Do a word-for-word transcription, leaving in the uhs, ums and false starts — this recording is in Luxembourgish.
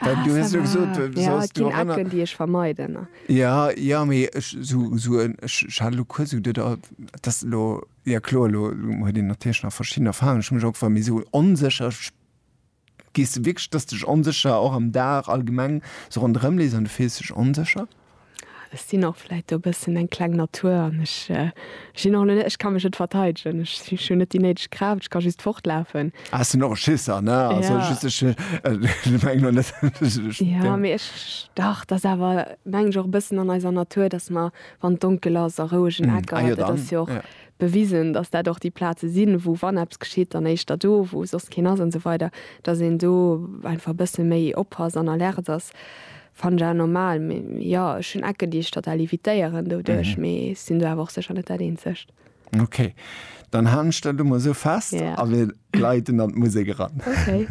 Well Ah, du ça hues elo va. gesot, du Ja, solls et ginn du erënner. Ecken, déi ech vermeiden. Ja, ja, mee ech sou, sou en, ech, ech hat elo kuerz esou geduet, oh, dat ass elo, ja kloer, elo huet een natierlech nach verschidden Erfahrungen, ech hu mech och gefrot, mee sou onsécher, gees de wierklech, dass dech onsécher och am Dag allgemeng sou ronderëm lees an du fills dech onsécher? Ech sinn och vläit do e bëssen eng kleng Natur an ech sinn och net, ech ka mech net verteidegen, ech ech hunn net déi néideg Kraaft, ech ka just fortlafen. Ah, ech sinn och e Schisser, ne, also Ja. just ech ech mengen elo net, ech Ja, mee ech, dach, dat ass awer mengen ech och e bëssen an eiser Natur, dass mer, wann et donkel ass a rouegen Ah Ecker, jo, dat dann, ass jo och ja. bewisen, dass dat och déi Plaze sinn, wou wann eppes geschitt, dann éischter do, wou soss keen ass an esou weider, dass een do einfach e bësse méi oppasst an alert ass. Fannen ech awer normal, mee jo, ech hunn Ecken, déi ech total evitéieren doduerch, mee ech sinn do awer och sécher net dat Eenzegt. Ok, dann halen ech dat elo mol esou fest Ja. a mir gleiten an d'Musek eran. Ok.